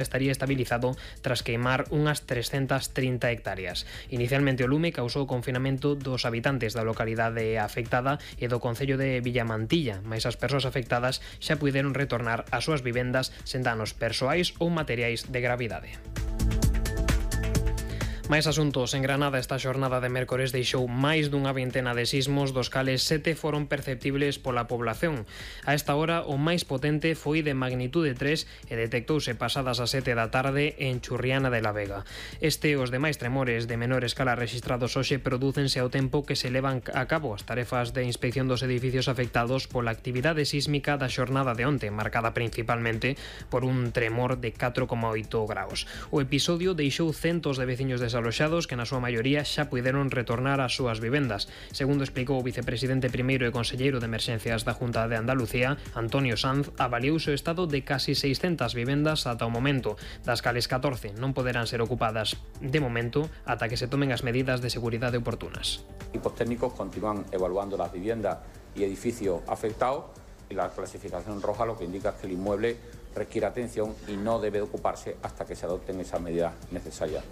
estaría estabilizado tras queimar unhas 330 hectáreas. Inicialmente o lume causou o confinamento dos habitantes da localidade afectada e do concello de Villamantilla, mais as persoas afectadas xa puideron retornar ás súas vivendas sen danos persoais ou materiais de gravidade. Máis asuntos. En Granada esta xornada de mércores deixou máis dunha vintena de sismos, dos cales 7 foron perceptibles pola población. A esta hora o máis potente foi de magnitude 3 e detectouse pasadas as 7 da tarde en Churriana de la Vega. Os demais tremores de menor escala rexistrados hoxe prodúcense ao tempo que se levan a cabo as tarefas de inspección dos edificios afectados pola actividade sísmica da xornada de onte, marcada principalmente por un tremor de 4,8 graus. O episodio deixou centos de veciños desaloxados que na súa maioría xa puideron retornar ás súas vivendas. Segundo explicou o vicepresidente primeiro e conselleiro de emerxencias da Junta de Andalucía, Antonio Sanz, avaliouse o estado de casi 600 vivendas ata o momento, das cales 14 non poderán ser ocupadas de momento ata que se tomen as medidas de seguridade oportunas. Equipos técnicos continúan evaluando las viviendas y edificios afectados y la clasificación roja lo que indica es que el inmueble requiere atención y no debe ocuparse hasta que se adopten esas medidas necesarias.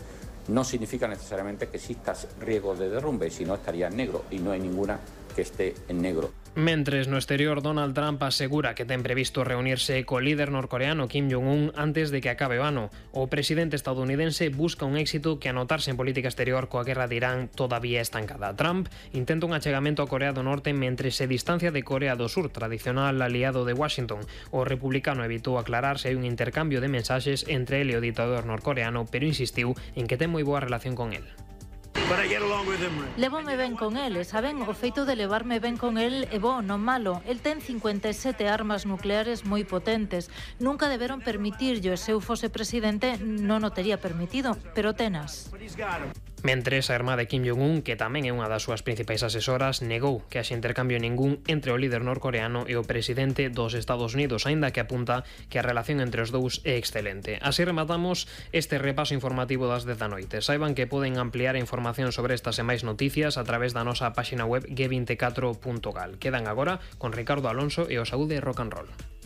No significa necesariamente que exista riesgo de derrumbe, sino estaría en negro y no hay ninguna que esté en negro. Mentres no exterior, Donald Trump asegura que ten previsto reunirse co líder norcoreano Kim Jong-un antes de que acabe o ano. O presidente estadounidense busca un éxito que anotarse en política exterior coa guerra de Irán todavía estancada. Trump intenta un achegamento a Corea do Norte mentre se distancia de Corea do Sur, tradicional aliado de Washington. O republicano evitou aclarar se hai un intercambio de mensaxes entre ele e o ditador norcoreano, pero insistiu en que ten moi boa relación con el. Levome ben con el, saben, o feito de levarme ben con el é bo, non malo. El ten 57 armas nucleares moi potentes. Nunca deberon permitirlo, e se eu fose presidente non o tería permitido, pero tenas. Mentres a irmá de Kim Jong-un, que tamén é unha das súas principais asesoras, negou que haxe intercambio ningún entre o líder norcoreano e o presidente dos Estados Unidos, aínda que apunta que a relación entre os dous é excelente. Así rematamos este repaso informativo das 10 da noite. Saiban que poden ampliar a información sobre estas e máis noticias a través da nosa páxina web g24.gal. Quedan agora con Ricardo Alonso e o Saúde Rock and Roll.